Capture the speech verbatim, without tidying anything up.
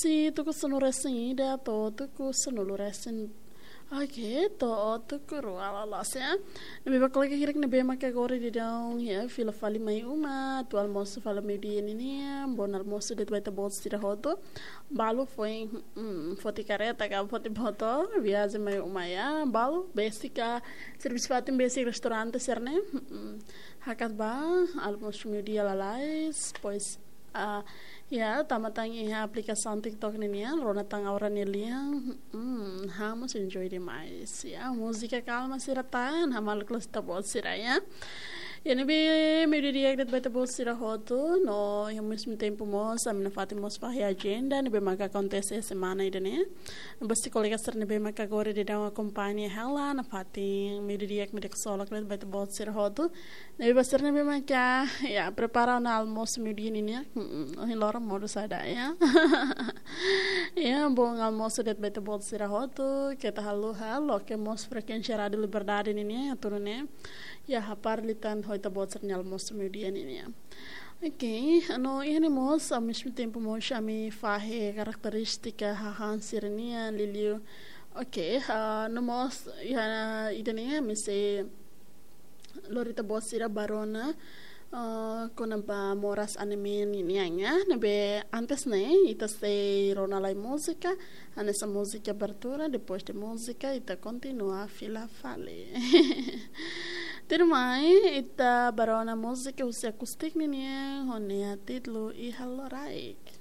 Husi tuku sanulu-resin-ida to'o tuku sanulu-resin, oke, to'o tuku rua loloos, ya. Ne'ebé ba kolega hirak ne'ebé maka agora daudaun, ya, fila fali mai uma, atu almosu fali meiudia ninian, bom almosu de'it ba ita-boot sira hotu. Balu foin, mm, foti karreta ka foti motór, viajen mai uma, ya. Balu besik ka, servisu fatin besik restaurante sira-ne'e, mm, hakat ba, almosu meiudia lalais, depois, ah, ya, tama tan iha aplikasaun TikTok ninian, rona tan aura nia lian, mm, ha'u mós enjoy demais, ya. Múzika kalma sira tan, hamaluk loos ita-boot sira, ya. Ya, ne'ebé meiudia di'ak de'it ba ita-boot sira hotu, no, iha mezmu tempu mós, ami nafatin mós fahe ajenda, ne'ebé maka akontese semana ida-ne'e. Ba kolega sira ne'ebé maka agora daudaun akompaña hela, nafatin meiudia di'ak, meiudia ksolok de'it ba ita-boot sira hotu. Ne'ebé ba sira ne'ebé maka, ya, prepara ona almosu meiudia ninian, mm, ohin loron modo saida, ya. Ya, bom almosu de'it ba ita-boot sira hotu, keta haluha, loke mós frekuénsia Rádiu Liberdade ninian, atu nune'e, ya, hapara liután ho ita-boot sira-nia almosu meiudia ninian. Oke, no iha ne'e mós, ao mesmo tempo mós ami fahe karakterístika hahán sira-nian, liuliu. Oke, ah, no mós, iha ida-ne'e ami sei lori ita-boot sira ba rona, ah, kona-ba moras anime ninian, ya. Ne'ebé antes ne'e, ita sei rona lai múzika, hanesan múzika abertura, depois de múzika, ita kontinua fila fali. Tuirmai, ita ba rona múzika husi Acoustic ninian, ho nia títulu Iha Loraik.